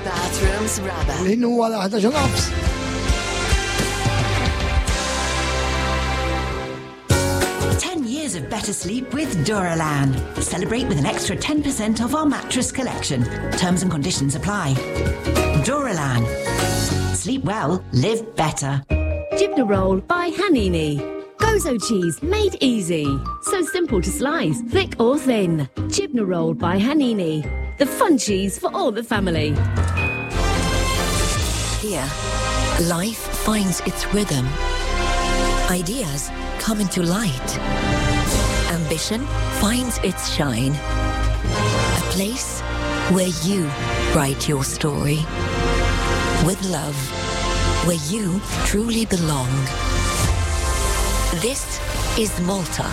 Bathrooms Rabat. Il-ħin huwa l-11 nofs. 10 years of better sleep with Duralan. Celebrate with an extra 10% off our mattress collection. Terms and conditions apply. Duralan. Sleep well, live better. Jibna Roll by Hanini. Gozo cheese made easy. So simple to slice, thick or thin. Jibna Roll by Hanini. The fun cheese for all the family. Here, life finds its rhythm. Ideas come into light. Ambition finds its shine. A place where you write your story. With love, where you truly belong. This is Malta.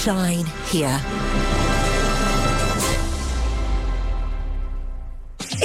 Shine here.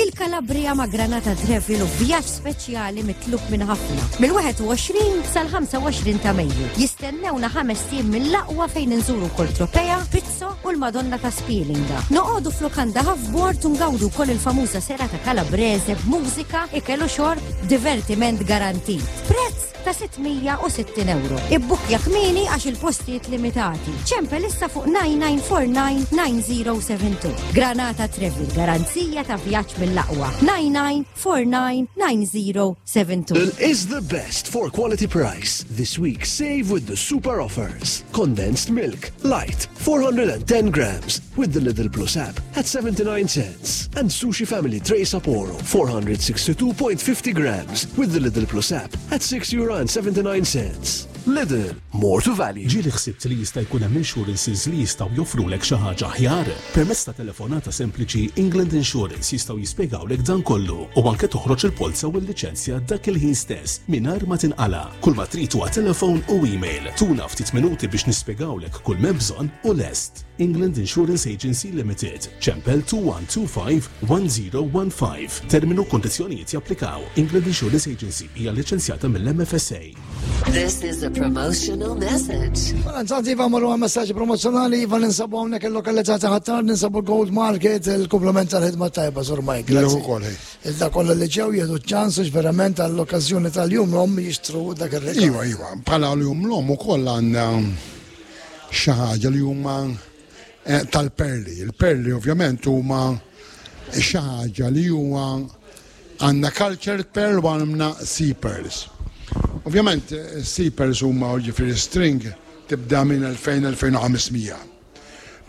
Il-Kalabria ma' Granata Travel u vjaġġ speċjali mitlub minn ħafna. Mill-21 sal-25 ta' Mejju. Jistennewna ħames tim mill-aqwa fejn inżuru kol Tropea, Pizzo u l-Madonna ta' Spilinga. Noqogħdu f'lukanda half-board u ngawdu wkoll il-famuża serata Kalabrese b'mużika, ikel u xorb, divertiment garantit. Prezz ta' 660 euro. Ibbukkja kmieni għax il-postijiet limitati. Ċempel issa fuq 9949-9072. Granata Travel, garanzija ta' vjaġġ mill-aqwa. 9949-9072. Is the best for quality price. This week, save with the super offers. Condensed milk, light, 410 grams, with the Lidl Plus app at 79 cents. And Sushi Family Tray Sapporo, 462.50 grams, with the Lidl Plus app at 6 euro and 79 cents. Lidl, more to value. Ġieli ħsibt li jista' jkun hemm insurances li jistgħu joffrulek xi ħaġa aħjar? Permezz ta' telefonata sempliċi, England Insurance jistgħu jispjegawlek dan kollu u anke toħroġ il-polza u l-liċenzja dak il-ħin stess mingħajr ma tinqala. Kull ma trid huwa telefon u email. Tuna ftit minuti biex nispjegawlek kull m'hemm bżonn u lest. England Insurance Agency Limited, ċempel 2125 1015. Terminu kondizzjonijiet japplikaw. England Insurance Agency hija liċenzjata mill-MFSA. This is a promotional message. Mela, nsanti Iva marru għal messaġġi promozzjonali, Iva ninsabu hawnhekk il-lokalità ta' Ħattar, ninsabu Gold Market, il-komplement tal-ħidma tajba, Sur Mike. Grazzi ukoll, hej. Iżda kollha li ġew jieħdu ċans biex verament għall-okkażjoni tal-jum l-omm jixtru dak ir-rigal. Iva, iva, bħala l-jum l-omm ukoll għandna xi ħaġa li huma eh, tal-perli. Il-perli ovvjament huma xi ħaġa li huwa għandna cultured pearl u għandna sea pearls. Ovvjament eh, sea pearls huma ġifieri string tibda minn 2000-2500.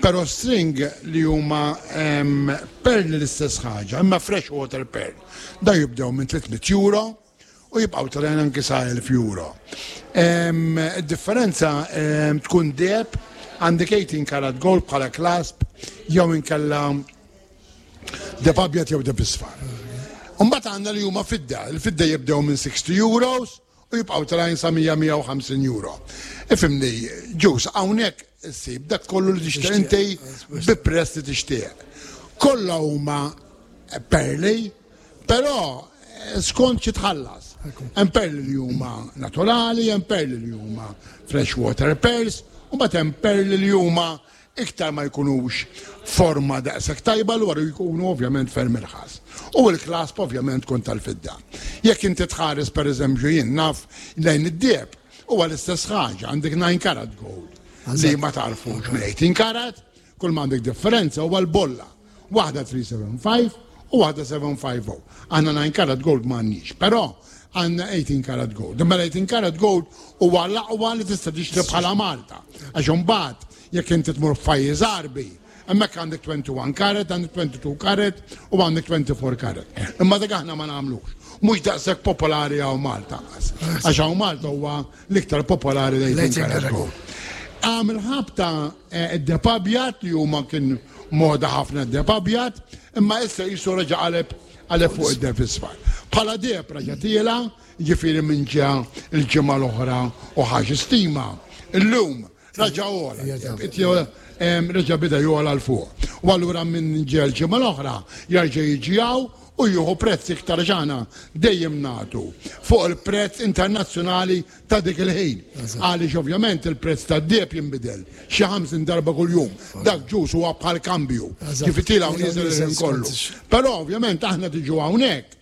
Però string li huma em, perli l-istess ħaġa, imma fresh water pearl. Da jibdew minn 300 euro u jibqgħu telgħin anki sa 1000 euro. Em, Id-differenza em, tkun deheb għandek 18 karat gold bħala clasp jew inkella deheb abjad jew deheb isfar. Mbagħad għandna li huma fidda, il-fidda jibdew minn 60 euros u jibqgħu telgħin sa 100-150 euro. Ifhimni, ġus, hawnhekk issib dak kollu li tixtieq inti bi prezz li tixtieq. Kollha huma perli, però eh, skont xi tħallas. Hemm perli li huma naturali, hemm perli li huma freshwater pearls, u mbagħad hemm perli li huma iktar ma jkunux forma daqshekk tajba l jkunu ovvjament ferm irħas. U l-clasp ovvjament kun tal-fidda. Jekk inti tħares per eżempju jien naf lejn id-deheb, huwa l-istess ħaġa, għandek 9 karat gold li ma tarfux minn 18 karat, kull ma għandek differenza huwa l-bolla. Waħda 375 u waħda 750. Għandna 9 karat gold m'għandniex, però għandna 18 karat gold. Imma l-18 karat gold huwa l-aqwa li tista' tixtri bħala Malta. Għax imbagħad jekk inti tmur f'pajjiż Għarbi, hemmhekk għandek 21 karat, għandek 22 karat u għandek 24 karat. Imma dak aħna ma nagħmlux. Mhux daqshekk popolari hawn Malta. Għax hawn Malta huwa l-iktar popolari l-18 karat gold. Għamil ħabta id-deheb abjad li huma kien moda ħafna d-deheb abjad, imma issa jisu reġa' qaleb qaleb fuq id-deheb isfar. Bħala deheb reġa' tiela, ġifieri minn ġa il-ġimgħa l-oħra u ħax stima. Illum raġa' għola, reġa' bida jogħla 'l fuq. U allura minn ġa l-ġimgħa l-oħra jarġa' jiġi hawn. u jieħu prezz iktar għax aħna dejjem nagħtu fuq il-prezz internazzjonali ta' dik il-ħin. Għaliex ovvjament il-prezz tad-deheb jinbidel xi 50 darba kuljum. Dak ġus huwa bħal kambju. Kif tiela' u nieżel il-ħin kollu. Però ovvjament aħna tiġu hawnhekk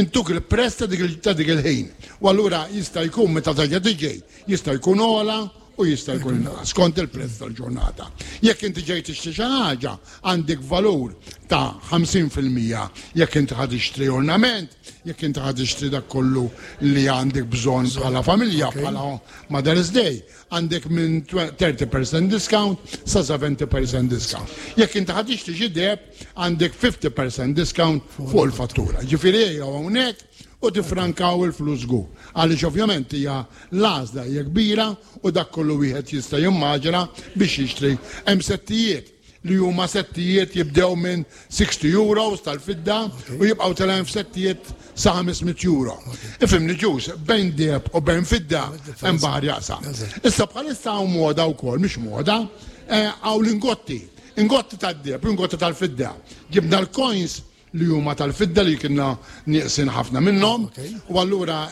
intuk il-prezz ta' dik il-ħin. U allura jista' jkun meta terġa' tiġi, jista' jkun ogħla u jista' jkun inqas skont il-prezz tal-ġurnata. Jekk inti ġej tixtri xi ħaġa, għandek valur ta' 50% jekk inti ħa tixtri ornament, jekk inti ħa tixtri dak kollu li għandek bżonn bħala familja, bħala Mother's Day, għandek minn 30% discount sa 70% discount. Jekk inti ħa tixtri xi deheb, għandek 50% discount fuq il-fattura. Ġifieri ejjew hawnhekk u tiffrankaw il-flus żgur. Għaliex ovvjament hija l-għażla hija kbira u dak kollu wieħed jista' jimmaġina biex jixtri. Hemm settijiet li huma settijiet jibdew minn 60 euros tal-fidda u jibqgħu telgħin f'settijiet sa 500 euro. Ifhimni ġus, bejn deheb u bejn fidda hemm baħar jaqsam. Issa bħalissa hawn moda wkoll, mhix moda, eh, hawn l-ingotti. Ingotti tad-deheb u ingotti tal-fidda. Ġibna l-coins li huma tal-fidda li kienna nieqsin ħafna minnhom u allura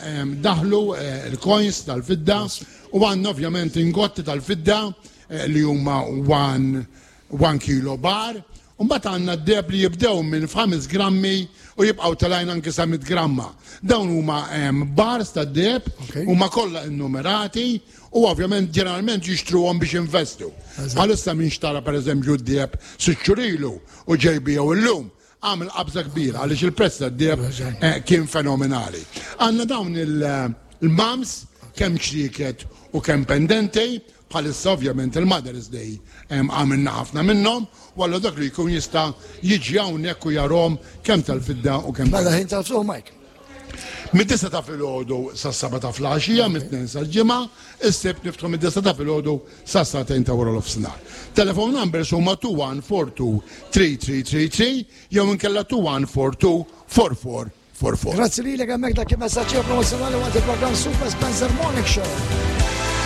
daħlu eh, l-coins tal-fidda u għandna ovvjament ingotti tal-fidda eh, li huma 1 kilo bar. U mbagħad għandna d-deheb li jibdew minn 5 grammi u jibqgħu telgħin anke sa 100 gramma. Dawn huma bars tad-deheb huma kollha innumerati u ovvjament ġeneralment jixtruhom biex investu. Bħalissa min xtara pereżempju d-deheb sitt xhur ilu u ġej biegħu illum, għamel qabża kbira għaliex il-prezz tad-deheb eh, kien fenomenali. Għandna dawn il-mams kemm ċrieket u kemm pendenti, bħalissa ovvjament il-Mother's Day għamilna ħafna minnhom, u allura dak li jkun jista' jiġi hawnhekk u jarhom kemm tal-fidda u kemm Mela ħin tal-ftuħ Mike. Mid-disa ta' filgħodu sas-seba ta' flaxija, mit-tnejn sal-ġimgħa, is-sibt niftħu mid-disa ta' filgħodu sas-sagħtejn ta' wara nofsinhar. Telephone numbers huma 2142 3333 jew inkella 2142 4444. Grazzi lilek hemmhekk dak il-messaġġ promozzjonali waqt il-programm Super Spencer Morning Show.